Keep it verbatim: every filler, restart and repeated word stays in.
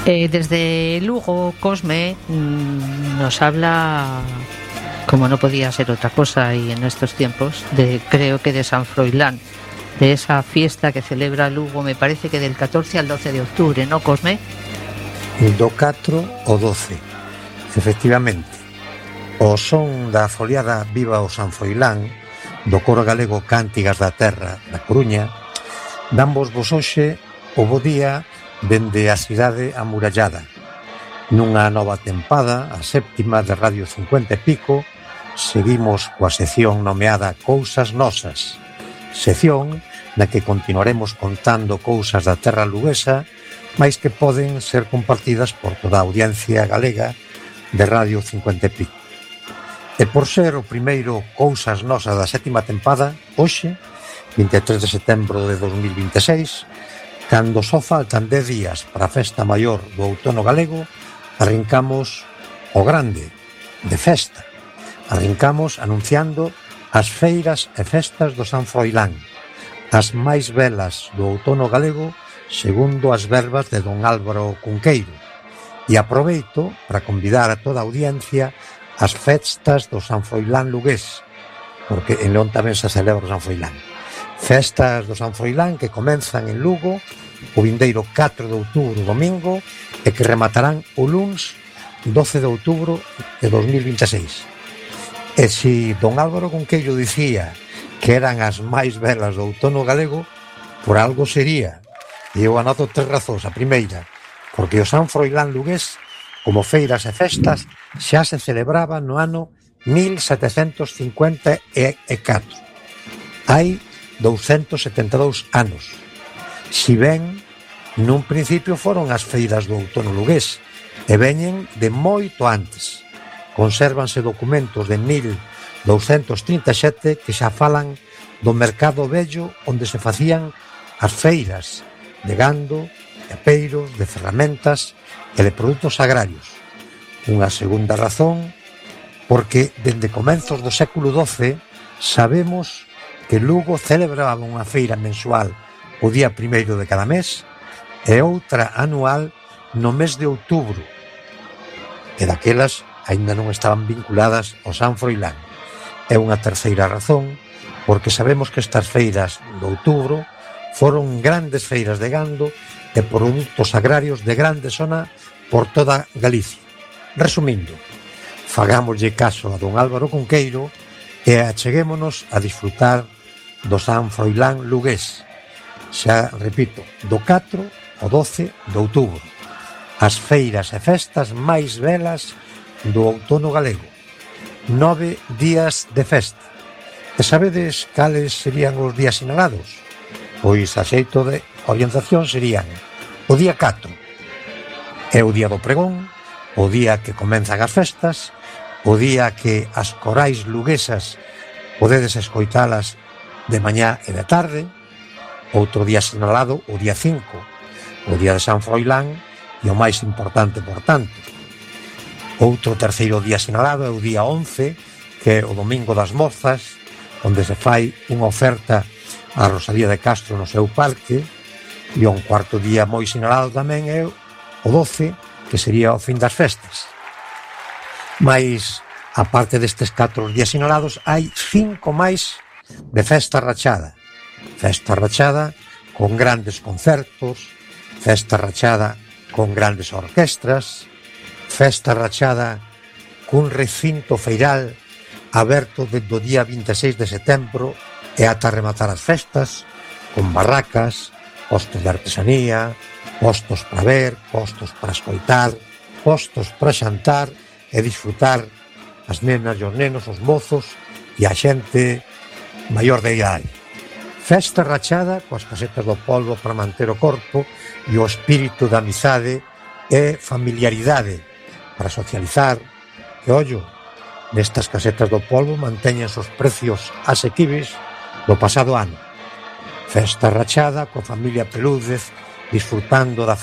Eh, desde Lugo, Cosme mmm, nos habla, como no podía ser otra cosa y en estos tiempos, de creo que de San Froilán, de esa fiesta que celebra Lugo, me parece que del catorce al doce de octubre, ¿no, Cosme? Do catro ao doce, efectivamente. O son da foliada Viva o San Froilán, do coro galego Cántigas da Terra da Coruña, damos vos hoxe o bo día dende a cidade amurallada. Nunha nova tempada, a séptima de Radio cincuenta e pico, seguimos coa sección nomeada Cousas Nosas, sección na que continuaremos contando cousas da terra luguesa, mais que poden ser compartidas por toda a audiencia galega de Radio cincuenta e pico. E por ser o primeiro Cousas Nosas da sétima tempada, hoxe, vinte e tres de setembro de dos mil vinte e seis, cando só faltan dez días para a festa maior do outono galego, arrincamos o grande, de festa. Arrincamos anunciando as feiras e festas do San Froilán, as máis belas do outono galego, segundo as verbas de don Álvaro Cunqueiro. E aproveito para convidar a toda a audiencia ás festas do San Froilán lugués, porque en León tamén se celebra o San Froilán. Festas do San Froilán que comenzan en Lugo o vindeiro catro de outubro, domingo, e que rematarán o luns doce de outubro de dos mil vinte e seis. E se don Álvaro Cunqueiro dicía que eran as máis belas do outono galego, por algo sería. E eu anoto tres razóns. A primeira, porque o San Froilán lugués, como feiras e festas, xa se celebraba no ano mil setecentos cincuenta e catro. Hai douscentos setenta e dous anos. Si ben, nun principio foron as feiras do outono lugués e veñen de moito antes. Consérvanse documentos de mil douscentos trinta e sete que xa falan do mercado vello onde se facían as feiras de gando, de apeiros, de ferramentas e de produtos agrarios. Unha segunda razón, porque dende comenzos do século doce sabemos que Lugo celebraba unha feira mensual o día primeiro de cada mes e outra anual no mes de outubro, e daquelas aínda non estaban vinculadas ao San Froilán. É unha terceira razón, porque sabemos que estas feiras de outubro foron grandes feiras de gando e produtos agrarios de grande zona por toda Galicia. Resumindo, fagámoslle caso a don Álvaro Cunqueiro e acheguémonos a disfrutar do San Froilán lugués. Xa repito, do catro ao doce de outubro, as feiras e festas máis belas do outono galego. Nove días de festa. E sabedes cales serían os días sinalados? Pois a xeito de orientación serían o día catro é o día do pregón, o día que comenzan as festas, o día que as corais luguesas podedes escoitalas de mañá e de tarde. Outro día sinalado, o día cinco, o día de San Froilán, e o máis importante, por tanto. Outro terceiro día sinalado é o día once, que é o Domingo das Mozas, onde se fai unha oferta a Rosalía de Castro no seu parque, e un cuarto día moi sinalado tamén é o doce, que sería o fin das festas. Mais, aparte destes catro días sinalados, hai cinco máis de festa rachada. Festa rachada con grandes concertos, festa rachada con grandes orquestras, festa rachada cun recinto feiral aberto desde o día vinte e seis de setembro e ata rematar as festas, con barracas, postos de artesanía, postos para ver, postos para escoitar, postos para xantar e disfrutar as nenas e os nenos, os mozos e a xente maior de idade. Festa rachada coas casetas do polvo para manter o corpo e o espírito da amizade e familiaridade para socializar. E ollo, nestas casetas do polvo mantéñense os precios asequibles do pasado ano. Festa rachada coa familia Pelúdez disfrutando da